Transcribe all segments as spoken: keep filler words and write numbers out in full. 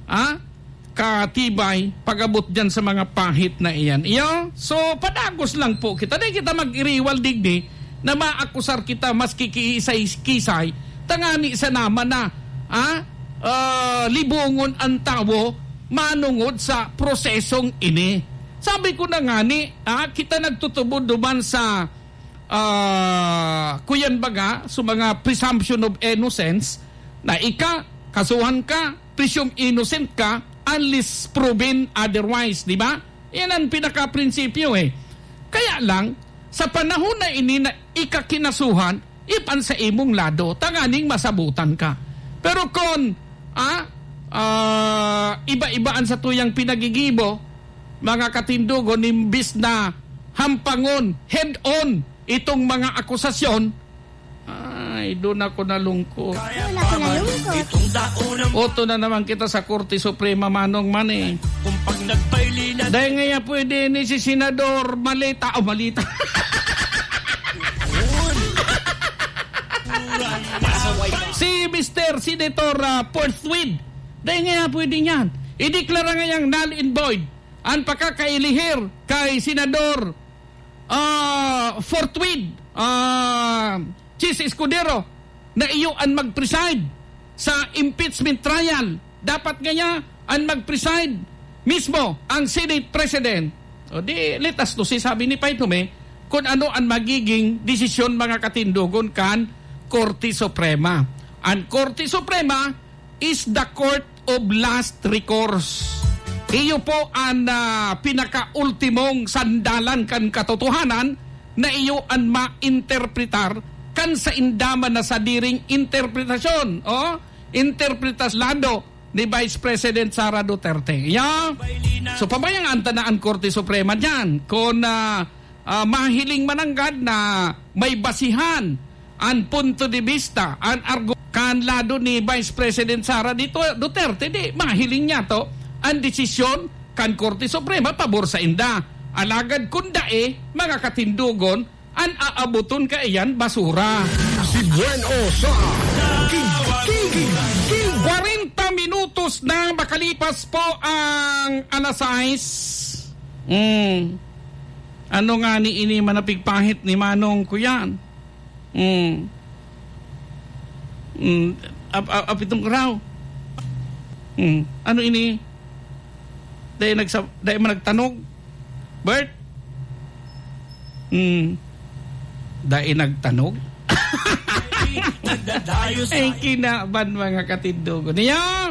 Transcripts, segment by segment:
ah, katibay pag-abot diyan sa mga pahit na iyan. Iyo, so padagos lang po kita. Di kita mag-iriwal digdi na maakusar kita maski kiisay-kisay, tangani sa naman na, ah, ah, libongon ang tawo manungod sa prosesong ini. Sabi ko na ngani, ah, kita nagtutubod duman sa, ah, kuyan baga, sa mga presumption of innocence, na ika, kasuhan ka, presume innocent ka, unless proven otherwise, di ba? Yan ang pinaka-prinsipyo eh. Kaya lang, sa panahon na ini na ika kinasuhan, ipan sa imong lado, tanganing masabutan ka. Pero kon, ah, ah, iba-iba an satuyang pinagigibo, mga katindogon, imbis na hampangon, head-on, itong mga akusasyon, ay, doon ako nalungkot. Doon ako nalungkot. Oto na naman kita sa Korte Suprema, Manong Manny. Dahil nga yan pwede ni si Senador Malita, o Malita. Si Mister Senator, ah, Porthwid. Dahil nga yan pwede niyan. Ideklara nga yang null and void ang pakakailihir kay Senador, ah, Forthwid, ah, Chiz Escudero, na iyo an mag-preside sa impeachment trial. Dapat ngaya an mag-preside mismo ang Senate President. O di, let us to see, sabi ni Pay Tome, kung ano ang magiging desisyon, mga katindogon, kan Korte Suprema. Ang Korte Suprema is the court of last recourse. Iyo po ang, ah, pinakaultimong sandalan kan katotohanan na iyo an mainterpretar kan sainda man na sadiring interpretasyon o interpretas lado ni Vice President Sara Duterte. Ya? So, pabayaan ta na ang Korte Suprema diyan. Kung, ah, ah, mahiling mananggad na may basihan an punto de vista, an argu-, kan lado ni Vice President Sara Dito-, Duterte, di mahiling niya to an desisyon kan Korte Suprema pabor sa inda. Alagad kun dai, mga katindogon, an aaboton kaiyan basura. Si Buen O sa King, King, King. Kwarenta minutos na makalipas po ang alas sais. Mm. Ano nga ni ini manapigpahit ni Manong Kuyan? Mm. Mm. Ap-, ap-, apitong kuraw. Mm. Ano ini? Dai nagsa-, dai man nagtanog? Bert? Hmm. Dai nagtanog? Ay, kinaban, mga katindogon. Niya?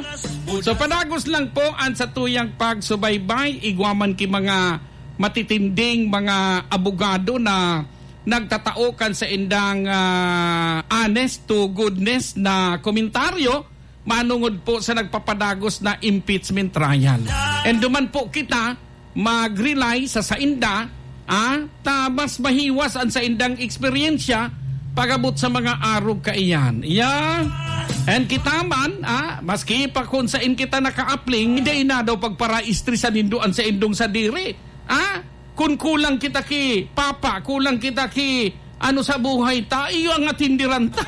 So, padagos lang po ang satuyang pagsubaybay. Igwa man ki mga matitinding mga abogado na nagtatao kan saindang, ah, honest to goodness na komentaryo manungod po sa nagpapadagos na impeachment trial. And duman po kita mag-rely sa sainda, ah, ta mas mahiwas ang saindang eksperyensya pag-abot sa mga arog kaiyan. Yeah. And kita man, ah, maski pa kung sain kita nakaapling, dai na daw pagparaistre sa nindo an saindong sadiri. Ah, kun kulang kita ki papa, kulang kita ki ano sa buhay ta, iyo ang atindiran ta.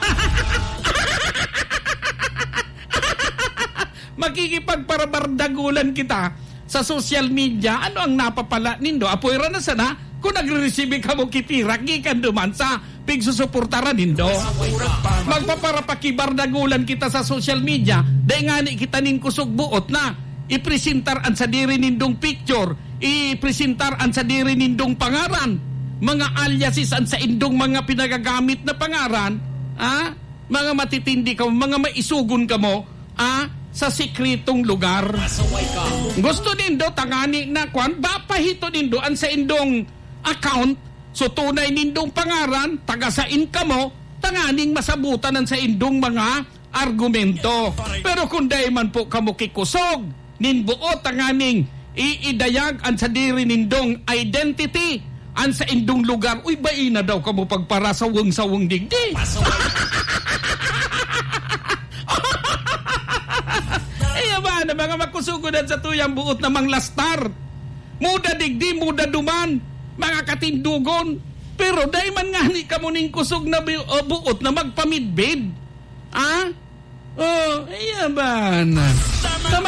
Makikipagparabardagulan kita sa social media. Ano ang napapala nindo? Apoy ra na sana kung nagre-resibi kamo ki pira gikan duman sa pigsusuportaran nindo. Magpaparapakibardagulan kita sa social media. Dai ngani kita nin kusog buot na ipresentar an sadiri nindong picture, ipresentar an sadiri nindong pangaran, mga aliases an saindong mga pinagagamit na pangaran, ah, mga matitindi kamo, mga maisogon kamo, ah, sa sikretong lugar. Gusto nindo tangani na kwan, bapahito nindo an saindong account, so tunay nindong pangaran, taga sain kamo, tanganing masabutan an saindong mga argumento. Pero kung dai man po kamo kikusog nin buot tanganing iidayag an sadiri nindong identity, an saindong lugar, uy, bai na daw kamo pagparasawong-sawong digdi. Iyo ba na mga makusugon an satuyang buot na manglastar? Muda digdi, muda duman, mga katindogon. Pero dai man ngani kamo nin kusog na bi-, o buot na magpamidbid. Ah? Oh, iya ba na? Sa